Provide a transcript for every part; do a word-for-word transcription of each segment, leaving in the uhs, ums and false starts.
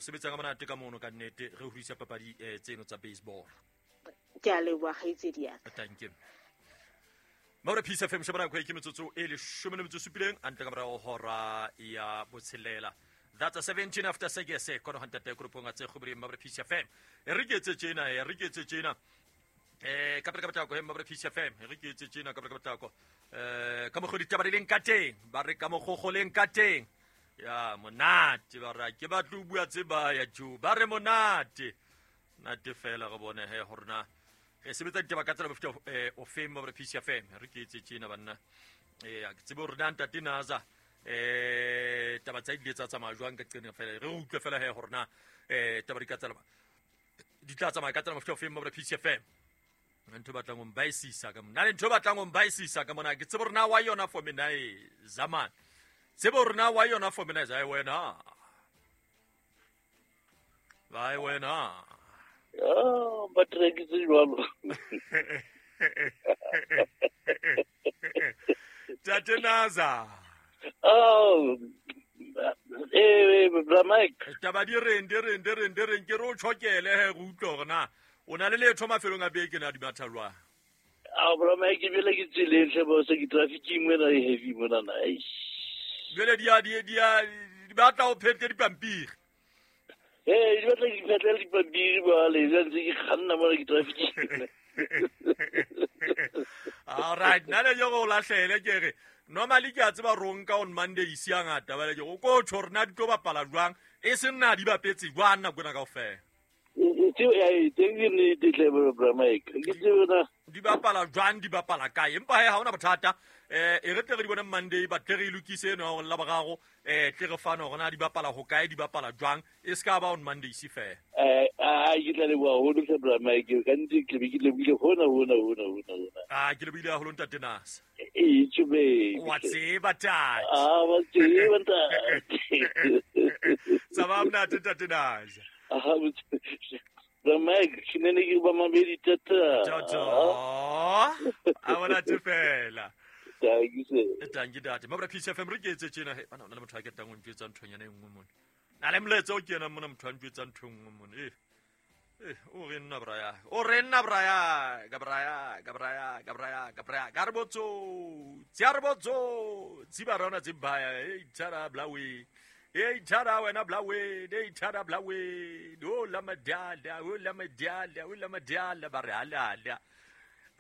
Sebetsang ka monate ka mono ka nnete re hodisa papadi eh, tseno tsa baseball. Ke a leboha kgaitsedi ya ka. Thank you. Maura Peace F M shebana kwa ke metsotso e leshome le metso e supileng antle ka morao hora ya botshelela. That's a seventeen after six kono hantate grupong a tse kgobri Maura Peace F M. E re ke etse tjena, e re ke etse tjena. Eh ka pele ka potlako he Maura Peace F M, e re ke etse tjena ka pele ka potlako. Eh ka mokgo ditaba di leng ka teng, ba re ka mokgo leng ka teng. Ya monate ba re ke batla ho bua tse ba ya jo, ba re monate. Nate fela re bone he hore na re sebetsa ditaba ka tsela mofuta eh o feng Maura Peace F M. Re ke etse tjena banna. Eh ke tsebe hore na ntate Naza eh taba tsa ile tsa tsamaya jwang ka qene fela. Re utlwe fela he hore na eh taba di ka tsela di tla tsamaya ka tsela mofuta o feng Maura Peace F M. Ntho batlang ho mbaisisa ka mona. Le ntho batlang ho mbaisisa ka mona. Ke tsebe hore na wa yona for mina e zaman. Tsebe hore na wa yona for mina e wena. Vai wena. Ah, ba trekitse jwalo. Tate Naza. Oh, eh, bra Mike. Taba di reng, di reng, di reng, di reng, ke re o tjhokele he re utlwe hore na o na le letho mafelong a beke na di matha jwang. Ah, bra Mike, bele ke tseleng hle bo se ke traffic mona e heavy mona na. Jwale di a di di a di batla o phete dipampiri. Eh, di batla ke phetle dipampiri ba le ntse ke kganna mona ke traffic. All right, nna le yo go lahlele ke re normally ke a tseba ronka on Monday isi a ngata ba le ke o ko tjho rena di tlo bapala jwang e seng na di bapetse jwang nako ena kaofela. E teng ke nnete hle bra Mike. Ke tsebe na di bapala jwang di bapala kae empa he ha hona bothata eh e re tle re di bone Monday ba tle re e lokise eno ya la boraro eh tle re fane hore na di bapala ho kae di bapala jwang e ska ba on Monday isi fela. Eh a ke tla leboha haholo hle bra Mike ka nnete ke be ke lebohile hona hona hona hona hona. Ah ke lebohile haholo ntate Nasa. E tjube. Wa tseba tate. Ah wa tseba ntate. Tsaba mnate ntate Nasa. Ah bra Mike ke ne ke ba mabedi tata. Tata. A bona te fela. Thank you sir. Thank you dad. Mabra Peace F M re ke etse tjena he bana le motho a ketang o ntjwetsa nthonyana e nngwe mona. Na le molaetsa o kena mona motho a ntjwetsa ntho e nngwe mona. Eh. Eh o re nna bra ya. O re nna bra ya, ka bra ya, ka bra ya, ka bra ya, ka bra ya. Ka re botso. Tsi re botso. Tsi ba rona tsi baya. Eh tshara blawe. Eh tshara wena blawe, eh tshara blawe. O la madala, o la madala, o la madala ba re halala.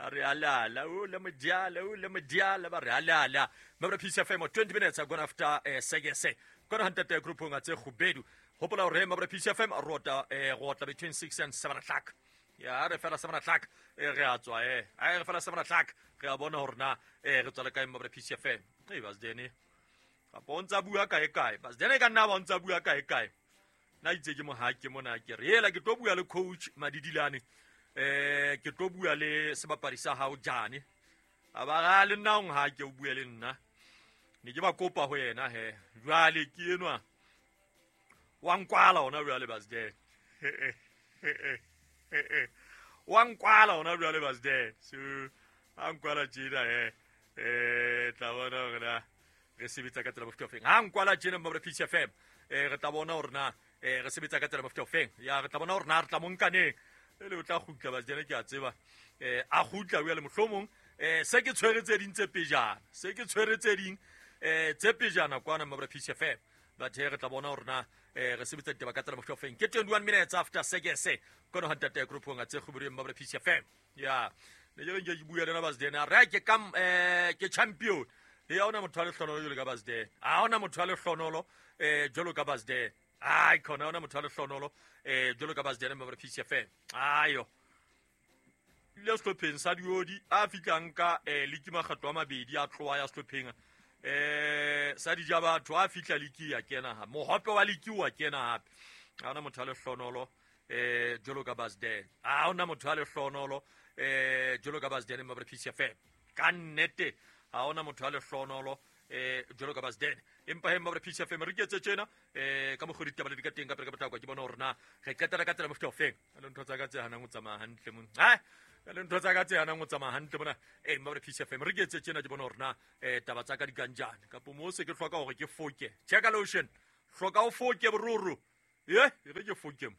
Are alala, o la mediala, o la mediala, ba re alala. Mabra Peace F M twenty minutes are gone after eh six. Kona hantate group nga tse kgubedu. Hopola hore Mabra Peace F M rota eh rota between six and seven o'clock. Ya re fela seven o'clock eh re a tswa eh. Ai re fela seven o'clock re a bona hore na eh re tswa le kae Mabra Peace F M. Eh basdene. Ka pontsa bua kae kae. Basdene ka nna ba ntsa bua kae kae. Na itse ke mo ha ke mona ke re ela ke tlo bua le coach Madidilane. Eh ke tlo bua le sebapadi sa hao Jane. A ba ga le nna ong ha ke o bua le nna. Ne ke ba kopa ho yena he. Jwale ke enwa. Wa nkwala ona jwale basde. Wa nkwala ona jwale basde. So a nkwala tjena he. Eh tla bona hore na re sebetsa ka tsela mofuta ofeng. Ha nkwala tjena Mabra Peace F M. Eh re tla bona hore na eh re sebetsa ka tsela mofuta ofeng. Ya re tla bona hore na re tla mo nkaneng. Le o tla kgutla basdene ke a tseba eh a kgutla o ya le mohlomong eh se ke tshwere tse ding tse pejana se ke tshwere tse ding eh tse pejana kwana Mabra Peace F M but he re tla bona hore na eh re sebetsa ditaba ka tsela mofuta ofeng ke twenty-one minutes after six kono hantate group nga tse kgobri Mabra Peace F M ya ne ke nke ke bua le na basdene re ke kam eh ke champion ya ona motho a le hlonolo jwalo ka basdene a ona motho a le hlonolo eh jwalo ka basdene ai khona ona motho a le hlonolo eh jwalo ka basdene Mabra Peace F M ayo le sehlopheng sa diodi a fitlang ka eh liki makgatlo a mabedi a tloa ya sehlopheng eh sa dija batho a fitla liki ya kena ha mohope wa liki wa kena hape a ona motho a le hlonolo eh jwalo ka basdene a ona motho a le hlonolo eh jwalo ka basdene Mabra Peace F M ka nnete a ona motho a le hlonolo eh jwalo ka basdene empa he Mabra Peace F M re ketse tjena eh ka mokgo ditaba le di ka teng ka pele ka potlako ke bona hore na re qetela ka tsela mofuta ofeng le ntho tsa ka tse hanang ho tsamaya hantle mona ha le ntho tsa ka tse hanang ho tsamaya hantle mona eh Mabra Peace F M re ketse tjena ke bona hore na eh taba tsa ka di kanjane kapo mo se ke hloka hore ke foke check lotion hloka o foke bororo Ye re ke fokem.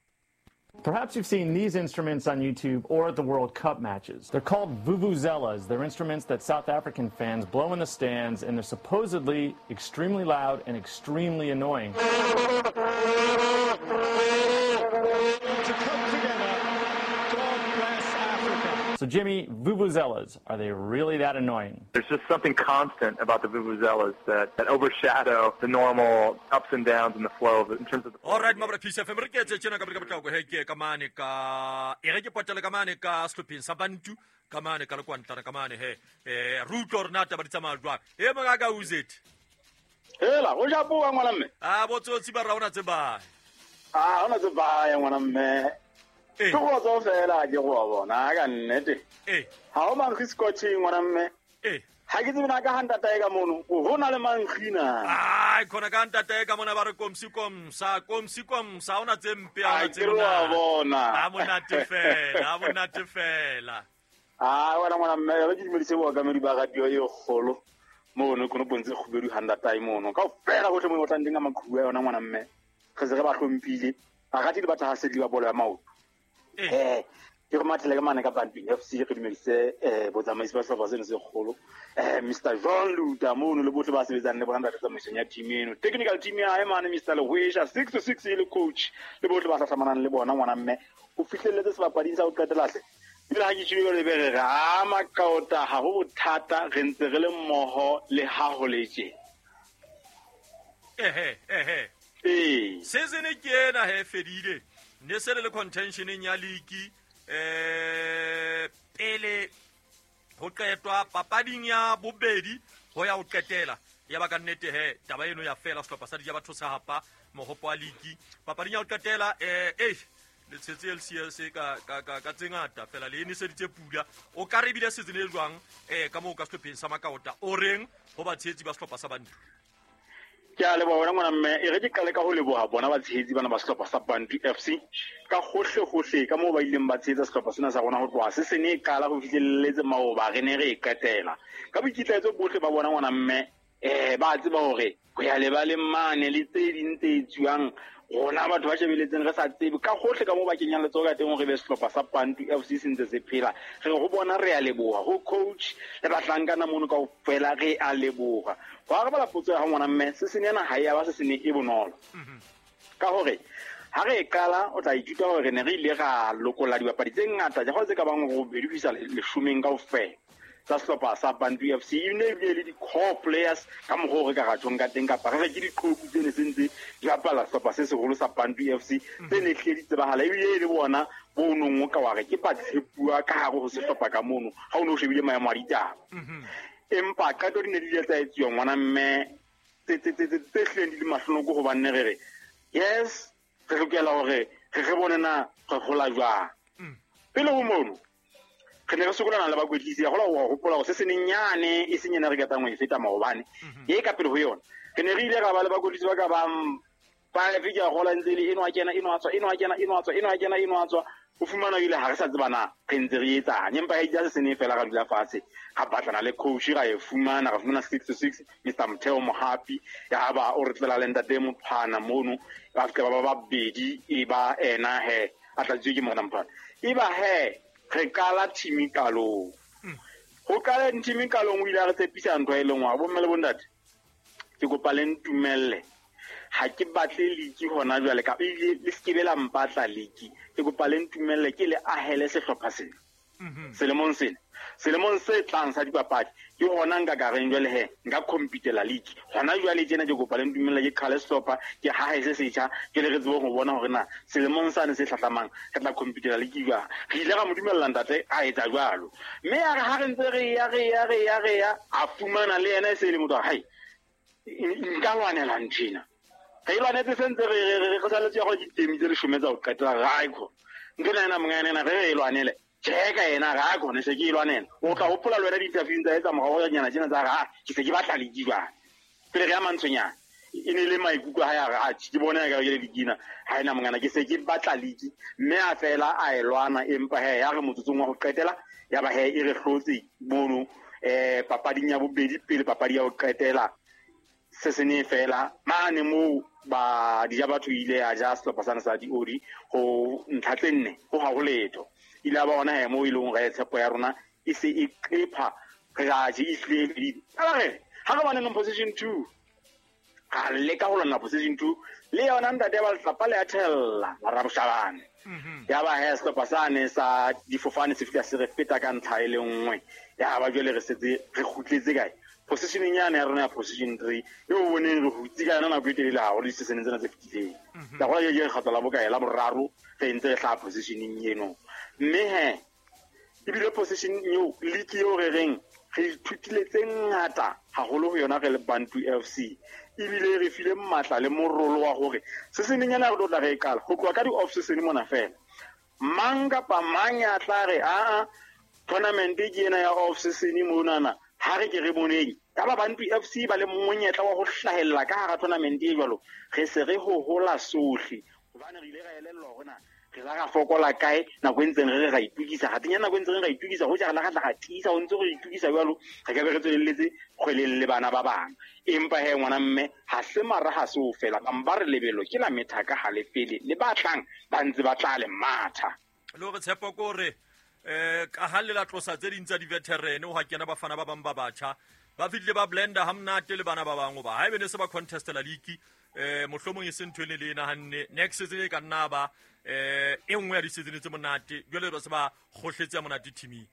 Perhaps you've seen these instruments on YouTube or at the World Cup matches. They're called vuvuzelas. They're instruments that South African fans blow in the stands, and they're supposedly extremely loud and extremely annoying. To come together, God bless Africa. So, Jimmy, vuvuzelas, are they really that annoying? There's just something constant about the vuvuzelas that, that overshadow the normal ups and downs in the flow of, in terms of the... All right, mabra Peace F M, re ke etse tjena ka ka botlako he ke ka mane ka e re ke potele ka mane ka sehlopheng sa Bantu ka mane ka lekwantlana ka mane he eh re utlwe hore na taba di tsamaya jwang. E monga ka uzet. Hela, o ja puwa ngwana mme. Ah, botsotsi ba ra ona tseba. Ah, ona tseba ya ngwana mme. Ke go tswa fela ke go bona ka nnete. Eh. Ha o mankgi scotching ngwana mme. Eh. Ha ke tsebe na ka hantata e ka mono, ho na le mankgi na. Ai, khona ka ntata e ka mona ba re komsi komsa, komsi komsa ona tse mpe a tse mona. Bona. Ha monate fela, ha monate fela. Ah, wena ngwana mme, re ke dumedise bookamedi ba radio e kgolo. Mono kono pontse kgubedu hantata e mono. Ka fela hohle mo otlang teng ka maqhubu a yona ngwana mme. Re se re ba hlomphile. Barati le batho ha se di ba bolo ya maoto. Eh, ke re mathele ka mane ka Bantu F C re dumedise eh botsamaisi ba sehlopha seno se kgolo. Eh Mister Jean Luta mono le bohle ba sebetsang le bona ntate tsamaisong ya team eno. Technical team ya hae mane Mister Lehwesha six to six e le coach le bohle ba hlahlamanang le bona ngwana mme. O fihlelletse sebapading sa ho qetela hle. Ebile ha ke tjhebe le bere re a makaota ha ho bothata re ntse re le mmoho le ha ho le tje. Ehe ehe. Eh. Season ke ena he fedile. Ne se le contentioneng ya league eh pele ho qetwa papading ya bobedi ho ya ho qetela ya ba ka nnete he taba eno ya fela sehlopha sa dija batho sa hapa mohopo wa league papading ya ho qetela eh eh le tshetse L C S ka ka ka ka tse ngata fela le eniseditse pula o ka re bile season e jwang eh ka moo ka sehlopheng sa Makaota o reng ho batshehetsi ba sehlopha sa Bantu. Ke a leboha wena ngwana mme, e re ke qale ka ho leboha bona batshehetsi bana ba sehlopha sa Bantu F C ka hohle hohle ka moo ba ileng ba tshehetsa sehlopha sena sa rona ho tloha se se ne e qala ho fihlelletse maoba re ne re e qetela. Ka boikitlaetso bohle ba bona ngwana mme, eh ba tseba hore ho ya lebaleng mane le tse ding tse etsuwang rona batho ba shebeletseng re sa tsebe ka hohle ka moo ba kenyang letsoho ka teng hore be sehlopha sa Bantu F C se ntse se phela. Re ho bona re a leboha ho coach le bahlankana mono kaofela re a leboha. Ho arabela potso ya hao ngwana mme, se sene ena ha e ya ba se sene e bonolo. Ka hore ha re e qala o tla ithuta hore re ne re ile ra lokolla dibapadi tse ngata ja tse ka bang robedi ho isa leshomeng kaofela tsa sehlopha sa Bantu F C. E ne ebile le di-core players ka mokgwa o re ka ratjhong ka teng kapa re re ke diqhoku tse ne se ntse di bapala sehlopha se seholo sa Bantu F C tse ne hlile di tsebahala ebile e le bona bo nong o ka wa re ke batshepuwa ka hare ho sehlopha ka mono ha o ne o shebile maemo a ditaba. Empa qeto di ne di ile tsa etsuwa ngwana mme tse tse tse tse hlileng di le mahlonoko hobane re re yes re lokela hore re re bone na re hola jwang. Pele ho mono re ne re sokolana le bakwetlisi ya gola ho hopola hore se senenyane e seng ena re ketang ho e feta maobane e ka pele ho yona re ne re ile ra ba le bakwetlisi ba ka bang five ke a gola ntse le eno a kena eno a tswa eno a kena eno a tswa eno a kena eno a tswa o fumana ile ha re sa tseba na re ntse re etsang empa e ja se sene fela ra dula fatshe ga batlana le coach ra e fumana ra fumana six to six Mister Motheo Mohapi ya ba o re tlela le ntate Mophana mono ba fika ba ba babedi e ba ena he a tlatswe ke mona Mophana e ba he re qala team qalong ho qala team qalong o ile a re tshepisa ntho e lengwe bo mme le bontate ke kopa le ntumelle ha ke batle league hona jwale ka ebile le skebe la mpatla league ke kopa le ntumelle ke le ahele sehlopha sena selemong sena selemong se tlang sa dipapadi ke hona nka ka reng jwale he nka competela league hona jwale tjena ke kopa le ntumelle ke qale sehlopha ke hahe se setjha ke le re tsebe ho bona hore na selemong sane se hlahlamang re tla competela league jwang. Re ile ra mo dumella ntate a etsa jwalo mme ya re ha re ntse re ya re ya re ya re ya a fumana le yena e se le motho wa hae nka lwanela ntjena re lwanetse sentse re re re saletse ya go ditemi tse leshome tsa ho qetela ra ikho ntho ena mongana ena re e lwanele tjeka yena ga khone se ke e lwanela o tla hopola le wena di-interview tsa etsa morao nyana tjena tsa ga ke se ke batla league jwang pele re ya mantshonyana e ne le maikutlo ha ya re a ke bona ka ke le dikina ha ena mongana ke se ke batla league mme a fela a e lwana empa he ya re motsotsong wa ho qetela ya ba he e re hlotse mono eh papading ya bobedi pele papadi ya ho qetela se sene fela mane moo Ba di ja batho ile ya ja sehlopha sana sa Diodi ho ntlha tse nne ho ha ho letho. Ile ba bona he mo ile re tshepo ya rona e se e qepha re ja je ihlele. Ala re ha re bane position two. Ka leka ho lona position two le yona ntate ba letlapa le a thella la raboshabane. Ya ba he sehlopha sane sa difofane se fihla se re feta ka ntlha e le nngwe. Ya ba jwale re setse re kgutletse kae? Positioning ya rona ya position three eo boneng re hutse ka yona nako e telele haholo di-seasoneng tsena tse fetileng. Ka gola ke kgetho la bokae la boraro re ntse re hlaha positioning eno. Mme he ebile position eo league eo re reng re ithutile tse ngata haholo ho yona re le Bantu F C. Ebile re file matla le morolo wa hore seasoneng ena re tlo tla re e qala ho tloha ka di-off season mona fela. Mang kapa mang ya tla re aa tournament ke ena ya off season monana ha re ke re boneng ka ba Bantu F C ba le monyetla wa ho hlahella ka hara tournament e jwalo re se re ho hola sohle hobane re ile ra elellwa hore na re la ra fokola kae nako e ntseng re re ra itukisa ga tenya nako e ntseng re ra itukisa ho ja re la ra tla ra tiisa ho ntse re itukisa jwalo re ka be re tswelelletse kgweleng le bana ba bang empa he ngwana mme ha se mara ha se o fela ba re lebelo ke la methaka ha le fele le ba tlang ba ntse ba tla le matha le hore tshepo ko re eh ka ha le la tlosa tse ding tsa di-veteran ho ha kena bafana ba bang ba batjha ba fihlile ba blender ha monate le bana ba bang hoba ha ebe ne se ba contestela league eh mohlomong e se ntho e ne le nahanne next season e ka nna ba eh e nngwe ya di-season tse monate jwale ba se ba kgohletse ya monate teaming.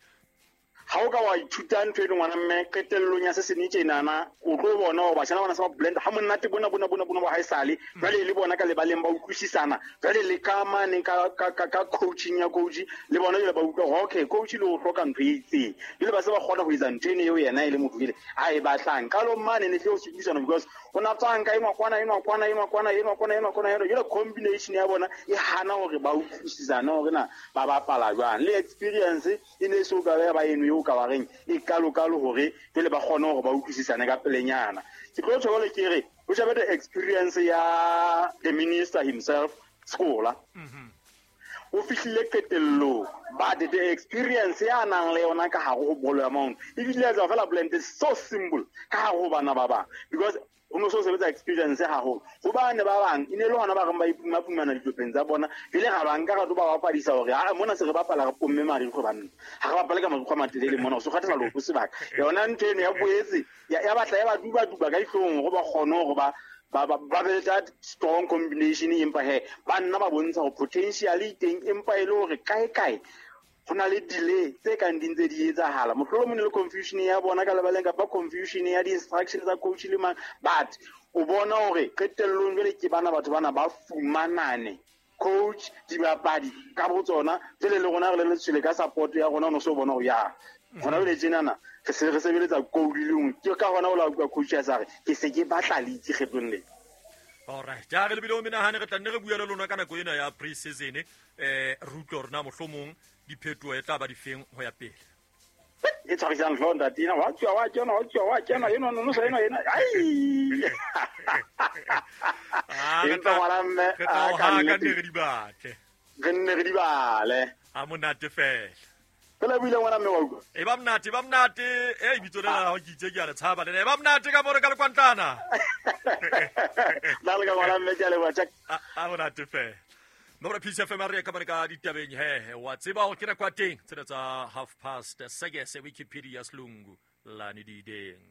Ha o ka wa ithuta ntho e le ngwana mme qetellong ya se sene tjenana o tlo bona hore batjha bana se ba blend ha monate bona bona bona bona ba haesale jwale le bona ka lebaleng ba utlwisisana jwale le ka mane ka ka ka coaching ya coach le bona jwale ba utlwa hore okay coach le o hloka ntho e itseng jwale ba se ba kgona ho etsa ntho eno eo yena e le motho ile a e batlang ka lo mane ne tle o se because o na tswang ka enwa kwana enwa kwana enwa kwana enwa kwana enwa kwana enwa jwale combination ya bona e hana hore ba utlwisisana hore na ba bapala jwang le experience e ne so ka ba eno ka ba reng e kalo kalo hore pele ba kgone hore ba utlwisisane ka pelenyana ke tlo tjho le ke re o shebe the experience ya the minister himself Skola o fihlile qetellong but the experience ya nang le yona ka hare ho bolo ya maoto ebile ya tswa fela blend is so simple ka hare ho bana ba bang because o no so sebetsa experience haholo hobane ba bang e ne le hona ba reng ba ipumapumana ditlhopheng tsa bona jwale ga ba nka ra tlo ba bapadisa hore a mona se re bapala re pomme marikgwe banna ha re bapale ka marikgwe a matelele mona o se kgathala leoto sebaka yona ntho eno ya boetse ya batla ya ba duba-duba ka dihlong hore ba kgone hore ba ba ba be that strong combination empa he ba nna ba bontsha hore potential e teng empa e le hore kae kae ho na le delay tse kang di ntse di etsahala mohlolomong le confusion ya bona ka lebaleng kapa confusion ya di-instruction tsa coach le mang but o bona hore qetellong jwale ke bana batho bana ba fumanane coach dibapadi ka botsona jwale le rona re le letshwele ka support ya rona o no so bona hore ya hona jwale tjenana re se re sebeletsa goal le nngwe ke ka hona o la utlwa coach ya sa re ke se ke batla league kgetlong lena. Alright, ja re lebile o menahane re tla nne re bua le lona ka nako ena ya pre-season eh re utlwe hore na mohlomong diphetoho e tla ba difeng ho ya pele. E tshwarisang hlooho ntate ena wa tswa wa kena wa tswa wa kena eno no sa eno ena ai empa ngwana mme a ka nne re di batle re nne re di bale a monate fela fela buile ngwana mme wa utlwa e ba monate ba monate e bitso le la ho ke itse ke a le tshaba le e ba monate ka more ka lekwantlana la le ka ngwana mme ke a leboha check a monate fela Mora P C F M re ka ka ditabeng he wa tseba ho kena kwa teng tsena tsa half past six Wikipedia Selungu lani dideng.